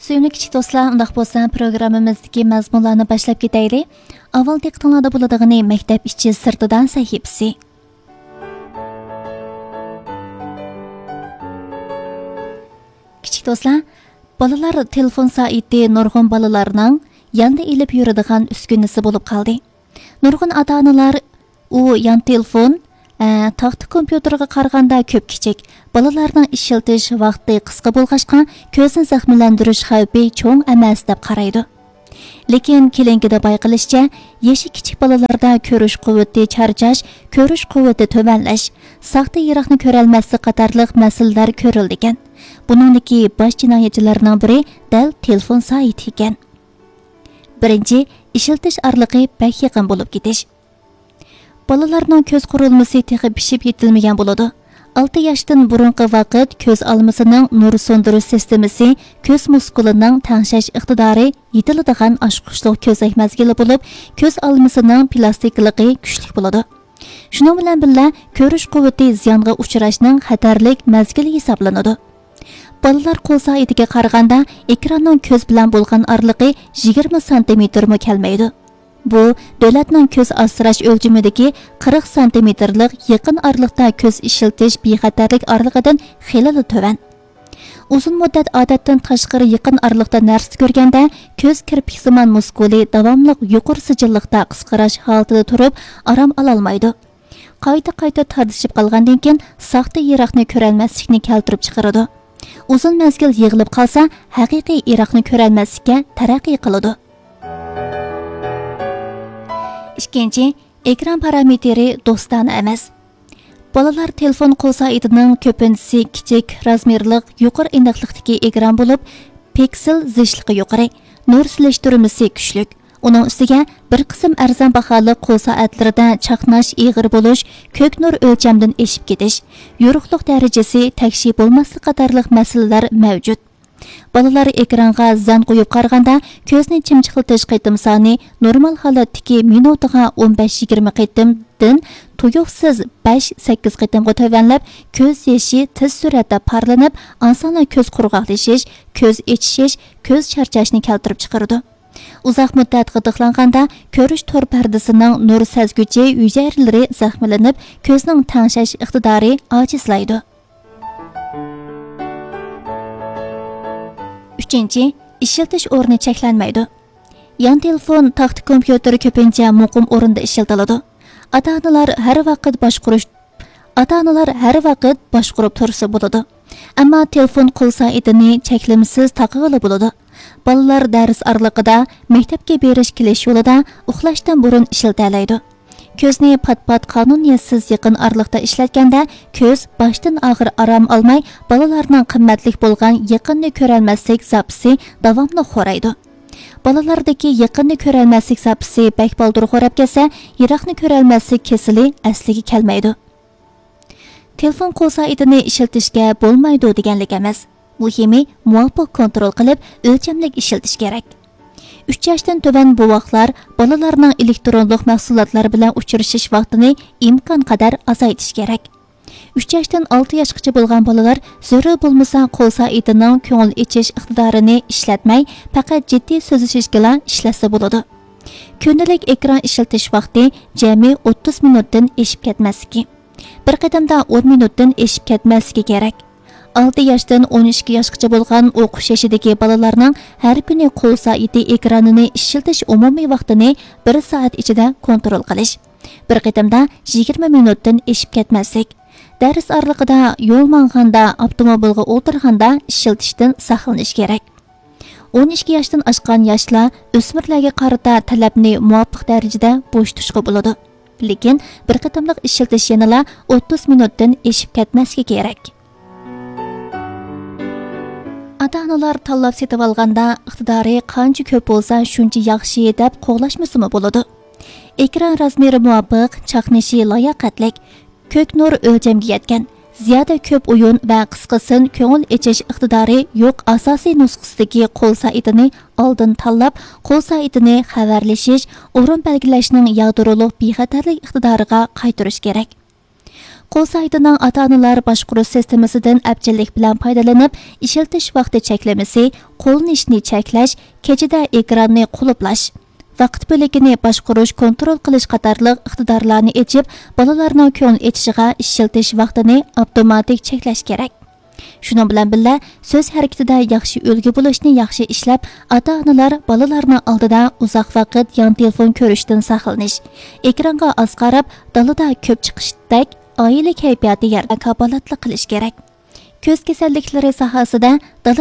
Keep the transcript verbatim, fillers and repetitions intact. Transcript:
سۆيۈملۈك كىچىك دوستلار، ئۇنداق بولسا پروگراممىمىزدىكى مەزمۇنلارنى باشلاپ كېتەيلى. ئاۋۋال دىققىتىڭلاردا بولىدىغىنى مەكتەپ ئىچى سىرتىدان سەھىپىسى. كىچىك دوستلار، بالىلار تېلېفون سائىتى نۇرغۇن بالىلارنىڭ ياندا ئېلىپ يۈرىدىغان ئۈسكۈنىسى بولۇپ قالدى. نۇرغۇن ئاتا-ئانىلار ئۇ يان تېلېفون، ئە، تاختا كومپيۇتېرغا قارىغاندا كۆپ كىچىك، بالىلارنىڭ ئىشلىتىش ۋاقتى قىسقا بولغاچقا، كۆزنى زەخىملەندۈرۈش خەۋپى چوڭ ئەمەس دەپ قارايدۇ. لېكىن كېلىنكىدە بايقىلىشىچە، يېشى كىچىك بالىلاردا كۆرۈش قۇۋۋىتى چارچاش، كۆرۈش قۇۋۋىتى تۆۋەنلەش، ساختا يىراقنى كۆرەلمەسلىك قاتارلىق مەسىلىلەر كۆرۈلىدىكەن. بۇنىڭدىكى باش جىنايەتچىلەرنىڭ بىرى دەل تېلېفون سائىتى ئىكەن. بىرىنچى، ئىشلىتىش ئارىلىقى بەك يېقىن بولۇپ كېتىش. بالىلارنىڭ كۆز قۇرۇلمىسى تېخى پىشىپ يېتىلمىگەن بولىدۇ. ئالتە ياشتىن بۇرۇنقى ۋاقىت كۆز ئالمىسىنىڭ نۇر سۇندۇرۇش سىستېمىسى كۆز مۇسكۇلىنىڭ تەڭشەش ئىقتىدارى يېتىلىدىغان ئاچقۇچلۇق كۆزنەك مەزگىلى بولۇپ، كۆز ئالمىسىنىڭ پلاستىكىلىقى كۈچلۈك بولىدۇ. شۇنىڭ بىلەن بىللە، كۆرۈش قۇۋۋىتى زىيانغا ئۇچراشنىڭ خەتەرلىك مەزگىلى ھېسابلىنىدۇ. بالىلار قول سائىتىگە قارىغاندا، ئېكراننىڭ كۆز بىلەن بولغان ئارىلىقى يىگىرمە سانتىمېتىرمۇ كەلمەيدۇ. بۇ، دۆلەتنىڭ كۆز ئاسراش ئۆلچىمىدىكى قىرىق سانتىمېتىرلىق يېقىن ئارىلىقتا كۆز ئىشلىتىش بىخەتەرلىك ئارىلىقىدىن خېلىلا تۆۋەن. ئۇزۇن مۇددەت ئادەتتىن تاشقىرى يېقىن ئارىلىقتا نەرسە كۆرگەندە، كۆز كىرپىكسىمان مۇسكۇلى داۋاملىق يۇقىرى سىجىللىقتا قىسقىراش ھالىتىدە تۇرۇپ، ئارام ئالالمايدۇ. قايتا-قايتا تارتىشىپ قالغاندىن كېيىن، ساختا يىراقنى كۆرەلمەسلىكنى كەلتۈرۈپ چىقىرىدۇ. ئۇزۇن مەزگىل يىغىلىپ قالسا، ھەقىقىي يىراقنى كۆرەلمەسلىككە تەرەققىي قىلىدۇ. ئىككىنچى، ئېكران پارامېتىرى دوستانە ئەمەس. بالىلار تېلېفون قول سائىتىنىڭ كۆپىنچىسى كىچىك، رازمېرلىق، يۇقىرى ئېنىقلىقتىكى ئېكران بولۇپ، پىكسېل زىچلىقى يۇقىرى، نۇر سېلىشتۇرمىسى كۈچلۈك. ئۇنىڭ ئۈستىگە بىر قىسىم ئەرزان باھالىق قول سائەتلىرىدە چاقناش، ئېغىر بولۇش، كۆك نۇر ئۆلچەمدىن ئېشىپ كېتىش، يورۇقلۇق دەرىجىسى تەكشى بولماسلىق قاتارلىق مەسىلىلەر مەۋجۇت. بالىلار ئېكرانغا زەن قويۇپ قارىغاندا، كۆزنى چىمچىقلىتىش قېتىم سانى نورمال ھالەتتىكى مىنۇتىغا ئون بەش يىگىرمە قېتىمدىن تۇيۇقسىز بەش سەككىز قېتىمغا تۆۋەنلەپ، كۆز يېشى تېز سۈرئەتتە پارلىنىپ، ئاسانلا كۆز قۇرغاقلىشىش، كۆز ئېچىشىش، كۆز چارچاشنى كەلتۈرۈپ چىقىرىدۇ. ئۇزاق مۇددەت غىدىقلانغاندا، كۆرۈش تور پەردىسىنىڭ نۇر سەزگۈچى ھۈجەيرىلىرى زەخىملىنىپ، كۆزنىڭ تەڭشەش ئىقتىدارى ئاجىزلايدۇ. ئۈچىنچى، ئىشلىتىش ئورنى چەكلەنمەيدۇ. يان تېلېفون، تاختا كومپيۇتېر كۆپىنچە مۇقىم ئورۇندا ئىشلىتىلىدۇ. ئاتا-ئانىلار ھەر ۋاقىت باشقۇرۇش، ئاتا-ئانىلار ھەر ۋاقىت باشقۇرۇپ تۇرسا بولىدۇ. ئەمما تېلېفون قول سائىتىنى چەكلىمىسىز تاقىغىلى بولىدۇ. بالىلار دەرس ئارىلىقىدا، مەكتەپكە بېرىش كېلىش يولىدا، ئۇخلاشتىن بۇرۇن ئىشلىتەلەيدۇ. كۆزنى پات-پات قانۇنىيەتسىز يېقىن ئارىلىقتا ئىشلەتكەندە، كۆز باشتىن ئاخىر ئارام ئالماي، بالىلارنىڭ قىممەتلىك بولغان يېقىننى كۆرەلمەسلىك زاپىسى داۋاملىق خورايدۇ. بالىلاردىكى يېقىننى كۆرەلمەسلىك زاپىسى بەك بالدۇر خوراپ كەتسە، يىراقنى كۆرەلمەسلىك كېسىلى ئەسلىگە كەلمەيدۇ. تېلېفون قول سائىتىنى ئىشلىتىشكە بولمايدۇ دېگەنلىك ئەمەس. مۇھىمى، مۇۋاپىق كونترول قىلىپ، ئۆلچەملىك ئىشلىتىش كېرەك. ئۈچ ياشتىن تۆۋەن بوۋاقلار، بالىلارنىڭ ئېلېكترونلۇق مەھسۇلاتلار بىلەن ئۇچرىشىش ۋاقتىنى ئىمكانقەدەر ئازايتىش كېرەك. ئۈچ ياشتىن ئالتە ياشقىچە بولغان بالىلار زۆرۈر بولمىسا قول سائىتىنىڭ كۆڭۈل ئېچىش ئىقتىدارىنى ئىشلەتمەي، پەقەت جىددىي سۆزلىشىشكىلا ئىشلەتسە بولىدۇ. كۈندىلىك ئېكران ئىشلىتىش ۋاقتى جەمئىي ئوتتۇز مىنۇتتىن ئېشىپ كەتمەسلىكى، بىر قېتىمدا ئون مىنۇتتىن ئېشىپ كەتمەسلىكى كېرەك. ئالتە ياشتىن ئون ئىككى ياشقىچە بولغان ئوقۇش يېشىدىكى بالىلارنىڭ ھەر كۈنى قول سائىتى ئېكرانىنى ئىشلىتىش ئومۇمىي ۋاقتىنى بىر سائەت ئىچىدە كونترول قىلىش. بىر قېتىمدا يىگىرمە مىنۇتتىن ئېشىپ كەتمەسلىك. دەرس ئارىلىقىدا، يول ماڭغاندا، ئاپتوموبىلغا ئولتۇرغاندا ئىشلىتىشتىن ساقلىنىش كېرەك. ئون ئىككى ياشتىن ئاشقان ياشلار ئۆسمۈرلەرگە قارىتا تەلەپنى مۇۋاپىق دەرىجىدە بوشىتىشقا بولىدۇ. لېكىن بىر قېتىملىق ئىشلىتىش يەنىلا ئوتتۇز مىنۇتتىن ئېشىپ كەتمەسلىكى كېرەك. ئاتا-ئانىلار تاللاپ سېتىۋالغاندا، ئىقتىدارى قانچە كۆپ بولسا شۇنچە ياخشى دەپ قوغلاشمىسىمۇ بولىدۇ. ئېكران رازمېرى مۇۋاپىق، چاقنىشى لاياقەتلىك، كۆك نۇر ئۆلچەمگە يەتكەن، زىيادە كۆپ ئويۇن ۋە قىسقىسىن كۆڭۈل ئېچىش ئىقتىدارى يوق ئاساسىي نۇسخىسىدىكى قول سائىتىنى ئالدىن تاللاپ، قول سائىتىنى خەۋەرلىشىش، ئورۇن بەلگىلەشنىڭ يادرولۇق بىخەتەرلىك ئىقتىدارىغا قايتۇرۇش كېرەك. قول سايتىنىڭ ئاتا-ئانىلار باشقۇرۇش سىستېمىسىدىن ئەپچىللىك بىلەن پايدىلىنىپ، ئىشلىتىش ۋاقتى چەكلىمىسى، قوللىنىشنى چەكلەش، كېچىدە ئېكراننى قۇلۇپلاش، ۋاقىت بۆلىكىنى باشقۇرۇش، كونترول قىلىش قاتارلىق ئىقتىدارلارنى ئېچىپ، بالىلارنىڭ كۆڭۈل ئېچىشىغا ئىشلىتىش ۋاقتىنى ئاپتوماتىك چەكلەش كېرەك. شۇنىڭ بىلەن بىللە، سۆز ھەرىكىتىدە ياخشى ئۈلگە بولۇشنى ياخشى ئىشلەپ، ئاتا-ئانىلار بالىلارنىڭ ئالدىدا ئۇزاق ۋاقىت يان تېلېفون كۆرۈشتىن ساقلىنىش، ئېكرانغا ئاز قاراپ، دالىدا كۆپ چىقىشتەك ئائىلە كەيپىياتى يارىتىشقا كاپالەتلىك قىلىش كېرەك. كۆز كېسەللىكلىرى ساھەسىدە دالا